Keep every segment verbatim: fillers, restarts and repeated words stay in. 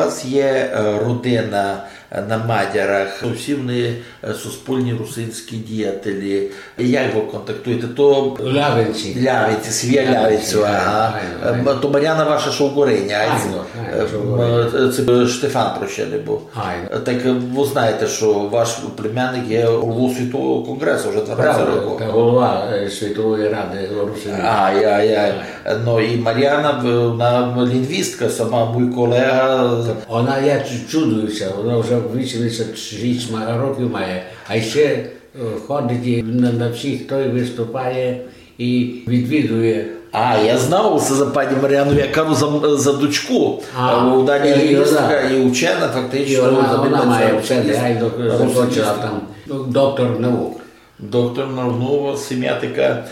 У вас є е, родина е, на Мадярах, то всі вони е, суспільні русинські діятелі. Як ви контактуєте? То Лявинці. Лявинці, сім'я Лявинці, Лявинців, ага. Айно, айно. Е, м, то Маряна ваша Шовгориня, айно? Айно, айно, Е, м, Шовгориня. Е, це Штефан Прощений був. Айно. Е, Так е, ви знаєте, що ваш племянник є головою Світового конгресу вже дванадцять Правда, років. Та голова е, Світової ради русинів. Ай, ай, ай. Ну і Маряна, в- вона лінгвістка, сама мій колега. Вона, я чу- чудуюся, вона вже вісімдесят шість ма- років має, а ще е, ходить і на, на всіх той виступає і відвідує. А, я знав усе за пані Маряну, я кажу за, за дочку. А, Е, вона і і лінгвістка, вона. І учена, фактично, І вона, вона займається має вчений, русинським- я й док- закончила русинським. Там ну, доктор наук. Доктор наук, ну, сім'я така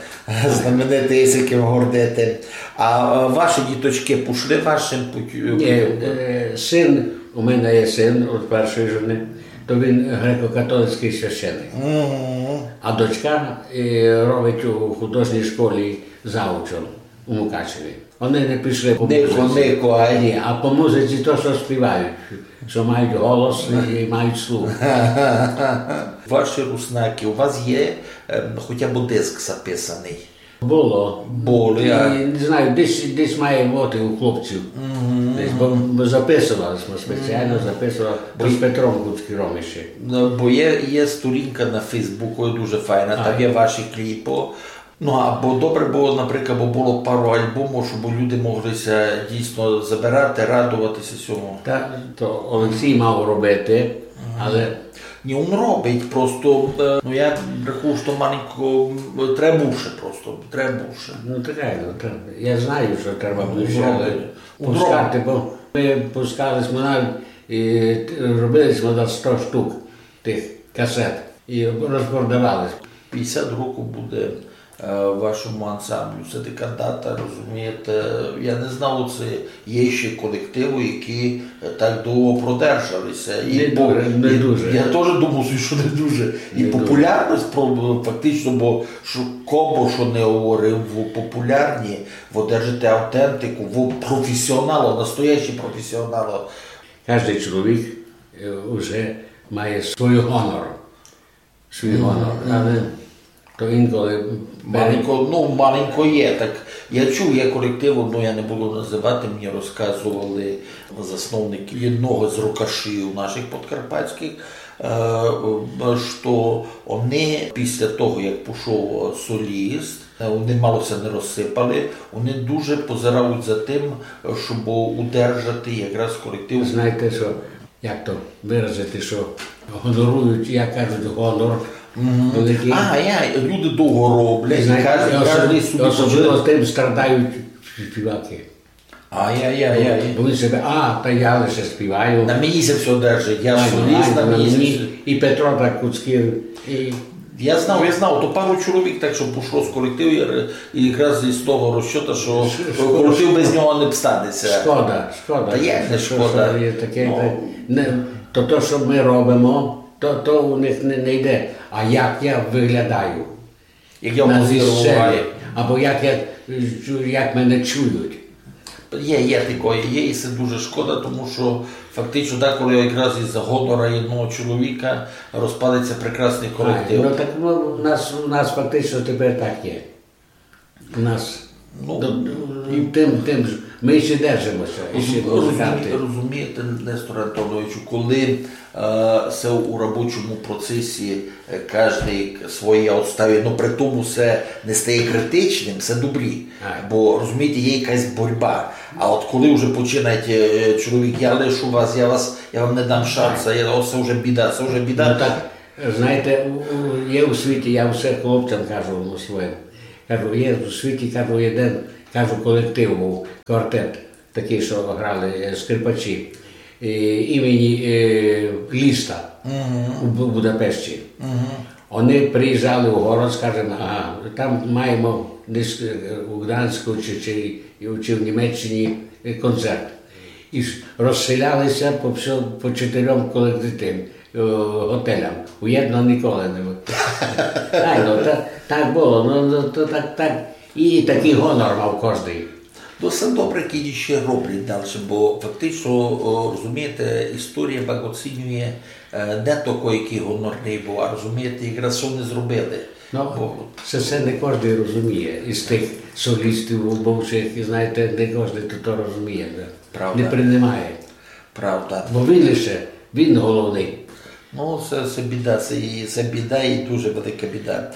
знаменита, є з яким гордити. А е, ваші діточки пішли вашим путю? Ні, е, син, у мене є син від першої жени, то він греко-католицький священник. Мгм. А дочка е, робить у художній школі заучом у Мукачеві. Вони не пішли по Нико, музиці. Нико, ай. Ні, а по музиці то, що співають, що мають голос і мають слух. Ваші руснаки, у вас є е, хоча б диск записаний? Було. Було, І, я. Не знаю, десь, десь має бути у хлопців. Десь, бо ми записували, ми спеціально записували, то з Петром Куцкіром ще. Ну, бо є, є сторінка на Фейсбуку, дуже файна, там є ваші кліпи. Ну, або добре було, наприклад, бо було пару альбомів, щоб люди могли ся дійсно забирати, радуватися цьому. Та, то Олексій мав робити, але Ні, він робить, просто, е, ну, я рахую, що маленько м, треба більше просто, треба більше. Ну, так, ну, так. Я знаю, що треба більше, але Робить. Пускати, бо ми пускали смо навіть, і робили смо на сто штук тих касет і розпродавали. Пятдесят років буде е, вашому ансамблю. Це така дата, розумієте. Я не знав, це є ще колективи, які е, так довго продержалися. І Не по- дуже, не і дуже. Я теж думав, що не дуже. І Не дуже. Популярність про- фактично, бо що, кобо що не говорив, ви популярні, ви держите автентику, ви професіонали, настоящі професіонали. Кожен чоловік е, вже має свій гонор. Свій гонор. Але то інколи Маленько, ну, маленько є, так. Я чув, є колектив, ну, я не буду називати, мені розказували засновники одного з рокашів наших подкарпатських, е, що вони після того, як пішов соліст, е, вони мало ся не розсипали, вони дуже позирають за тим, щоб удержати якраз колектив. Знаєте що, як то виразити, що гонорують, як кажуть, гонор великий. А, я, люди довго роблять, і Знаєте, кожен, і кожен особливо, собі особливо позирає. Тим страдають співаки. Ай-яй-яй. Бо він себе, а, та я лише співаю. На мені це все держить, я Ай, соліст, ай, на на мені це мені. все. І Петро так Куцкір, і Я знав, я знав, то пару чоловік так, що пішло з колективу, і ре- і якраз із того розчота, що Ш- шкода, колектив без нього не обстане ся. Шкода, шкода. Та є, не Що- шкода. Що є таке, Ну. Та, не, то, то, що ми робимо, то, то у них не, не йде. А як я виглядаю? Як я На позирував. Сцені. Або як, я, як мене чують. Є, є такое, є, і це дуже шкода, тому що фактично деколи якраз із-за гонора одного чоловіка розпадеться прекрасний колектив. Ай, ну так ну, у нас, у нас фактично тепер так є. У нас Ну, до- і тим, тим ж, ми ще держимося, і ще розумі- музиканти. Розумієте, Нестор Антоновичу, коли е, се у робочому процесі е, кожний своє отставить, ну при тому це не стає критичним, це добрі. Ай. Бо, розумієте, є якась боротьба. А от коли вже починаєте, е, чоловік, я лишу вас, я вас, я вам не дам шанса, я, о, це вже біда, це вже біда. Ну так, знаєте, у- у- є у світі, я все хлопцям кажу ну, своїм. Кажу, є у світі, кажу, один, кажу, колектив був, квартет, такий, що грали е, скрипачі, е, імені е, Ліста у Бу- Будапешті. Вони приїжджали у город, скажемо, ага, там маємо десь е, у Гданську чи, чи, чи в Німеччині е, концерт. І ж розселялися по, всьо- по чотирьом колективам, е, готелям. У єдного ніколи не було. Ай, ну, та, так було, ну, ну, то так, так. І такий гонор мав кожний. То все добре, які ще роблять далі, бо фактично, о, розумієте, історія пак оцінює, е, не такой, якый гонорный быв, а розумієте, якраз што они зробили. Но, се, се не кождый розуміє. Із тых солістів бывшых, знаєте, не кождый то, то розуміє. Да? Правда. Не принимає. Правда. Бо він лише, він головный. Ну, се, се біда, се, і- се біда і дуже велика біда.